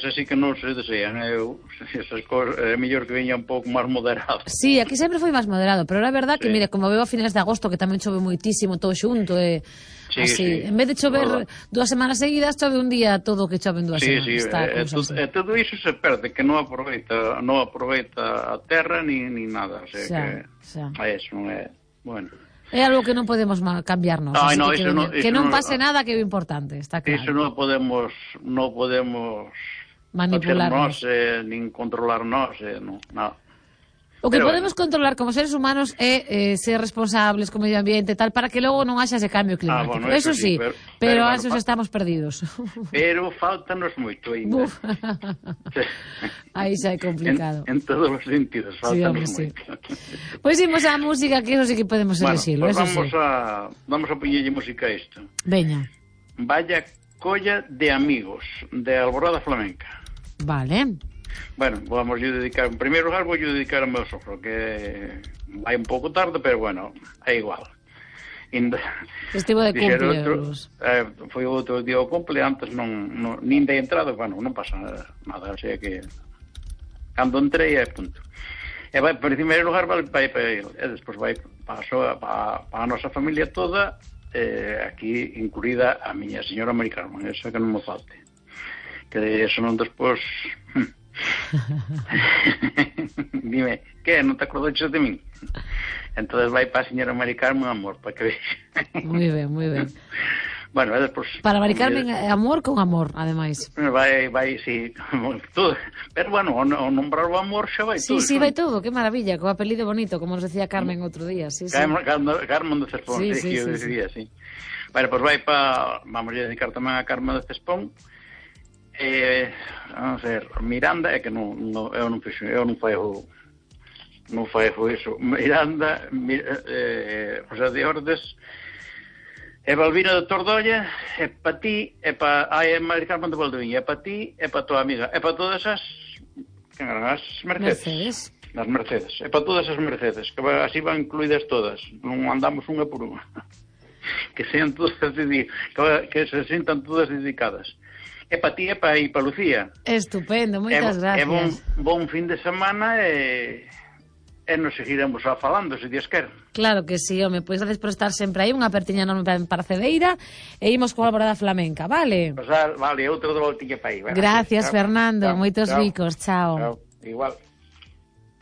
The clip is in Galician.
así que non se desean. Esas cosas, é mellor que veña un pouco máis moderado. Sí, aquí sempre foi máis moderado, pero é verdad que, mire, como veo a finales de agosto que tamén chove moitísimo todo xunto, así, en vez de chover 2 semanas seguidas, chove un día todo que chove en 2 semanas. Todo iso se perde, que non aproveita a terra ni nada, o sea, que eso non é, bueno. É algo que non podemos cambiarnos. Que non pase nada, que é o importante, está claro. Iso non podemos manipularnos, nin controlarnos, non. O que podemos controlar como seres humanos é ser responsables co medio ambiente e tal, para que logo non haxa ese cambio climático. Bueno, eso sí, pero a esos estamos perdidos. Pero faltanos moito ainda. Aí xa é complicado. En todos os sentidos, faltanos moito. Pois imos á música, que eso sí que podemos elegirlo. Vamos a poñerlle música a isto. Veña. Vaya colla de amigos, de Alborada Flamenca. Vale. Bueno, vamos a dedicar, en primeiro lugar vou dedicar ao meu sogro, que vai un pouco tarde, pero bueno, é igual. Estivo de cumpleaños. Foi outro día o cumple, antes nin de entrada, bueno, non pasa nada, o sea que cando entrei é punto. E vai, en primeiro lugar, vai para ele, e despois vai para a nosa familia toda, aquí incluída a miña señora Mari Carmen, esa que non me falte. Que eso non despois... Dime, que non te acordaches de min? Entonces vai para a señora Mari Carmen, amor, para que vexa. Moi ben, moi ben. Bueno, despois... Para Mari Carmen, amor con amor, ademais. Vai, sí, todo. Pero bueno, o nombrar o amor xa vai todo. Sí, vai todo, que maravilla, co apelido bonito, como nos decía Carmen outro día. Carmen de Cespón, sí, eu decía, sí. Bueno, pois vai para... Vamos a dedicar tamén a Carmen de Cespón. Vamos a ver, Miranda, é que eu non fago iso. Miranda, José de Ordes, e Balbina de Tordolla, e pa ti, e pa Mari Carmen de Valdoviña, e pa ti, e pa tua amiga, e pa todas as Mercedes. As Mercedes, e pa todas as Mercedes, que así van incluídas todas, non andamos unha por unha. Que sean todas que se sintan todas dedicadas. É para ti, é para Lucía. Estupendo, moitas gracias. É bon fin de semana e nos seguiremos falando, se Dios quer. Claro que sí, home, pois gracias por estar sempre aí, unha apertiña enorme para Cedeira, e imos con a Alborada Flamenca, vale? Vale, outro de voltiña para aí. Gracias, Fernando, moitos bicos, chao. Igual.